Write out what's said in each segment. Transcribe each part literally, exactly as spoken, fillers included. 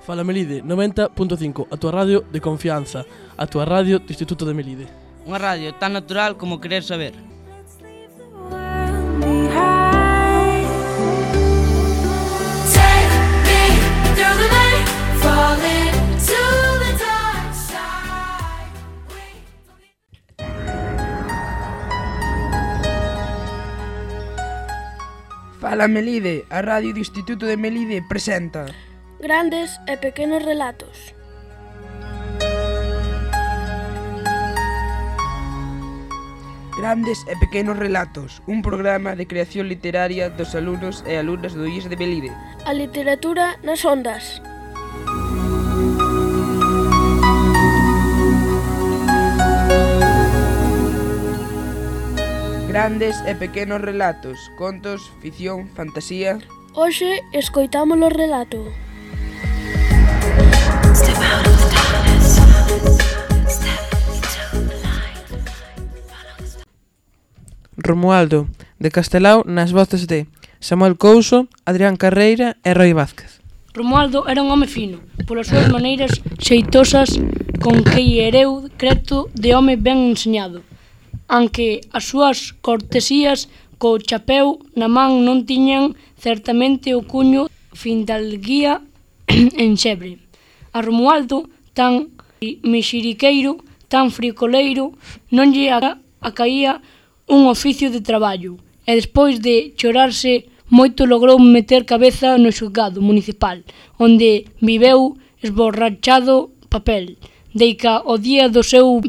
Fala Melide, noventa punto cinco, a túa radio de confianza, a túa radio do Instituto de Melide. Unha radio tan natural como querer saber. Fala Melide, a radio do Instituto de Melide presenta Grandes e pequenos relatos. Grandes e pequenos relatos, un programa de creación literaria dos alumnos e alumnas do I E S de Melide. A literatura nas ondas. Grandes e pequenos relatos, contos, ficción, fantasía. Hoxe escoitamos o relato. Romualdo, de Castelao, nas voces de Samuel Couso, Adrián Carreira e Roi Vázquez. Romualdo era un home fino, polas súas maneiras xeitosas con que hereu creto de home ben enseñado. Aunque as súas cortesías co chapeu na man non tiñan certamente o cuño findalguía en xebre. A Romualdo, tan mexiriqueiro, tan fricoleiro, non lle acaía un oficio de traballo, e despois de chorarse moito logrou meter cabeza no xulgado municipal, onde viveu esborrachado papel. Deica o día do seu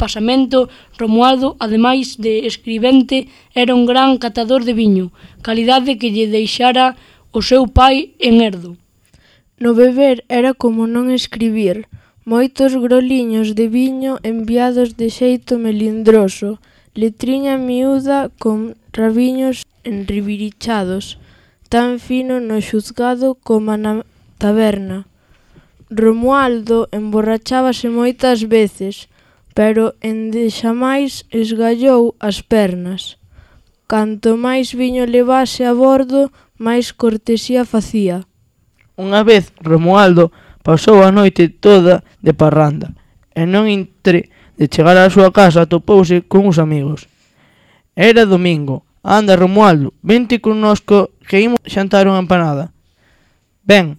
pasamento, Romualdo, ademais de escribente, era un gran catador de viño, calidade que lle deixara o seu pai en herdo. No beber era como non escribir, moitos groliños de viño enviados de xeito melindroso, letriña miúda con rabiños enribirichados, tan fino no xuzgado como na taberna. Romualdo emborrachábase moitas veces, pero endexamais esgallou as pernas. Canto máis viño levase a bordo, máis cortesía facía. Unha vez Romualdo pasou a noite toda de parranda, e non entre de chegar á súa casa atopouse con uns amigos. Era domingo. Anda, Romualdo, vente connosco que imos xantar unha empanada. Ben,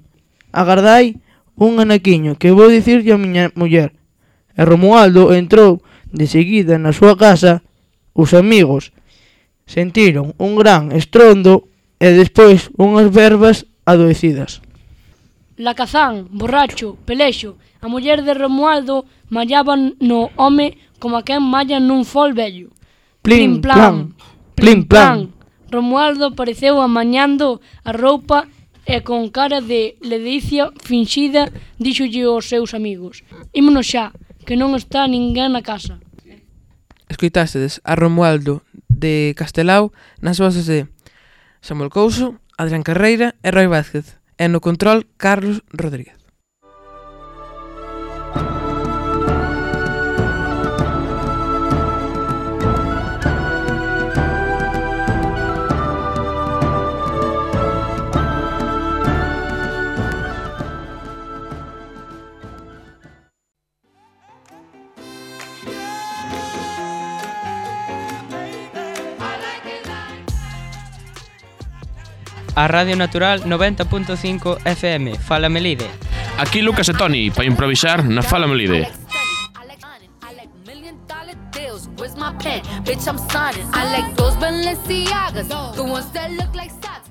agardai un anaquiño que vou dicirlle a miña muller. E Romualdo entrou de seguida na súa casa. Os amigos sentiron un gran estrondo e despois unhas verbas adoecidas. Lacazán, borracho, pelexo, a muller de Romualdo mallaba no home como a quen malla nun fol vello. Plim, plan, plim, plan. Romualdo apareceu amañando a roupa e con cara de ledicia finxida díxolle aos seus amigos: ímonos xa, que non está ninguén na casa. Escoitástedes a Romualdo de Castelao nas voces de Samuel Couso, Adrián Carreira e Roi Vázquez, e no control Carlos Rodríguez. A Radio Natural noventa punto cinco F M, Fala Melide. Aquí Lucas e Toni, para improvisar na Fala Melide. Bitch, I'm signing. I like those Balenciagas, the ones that look like socks.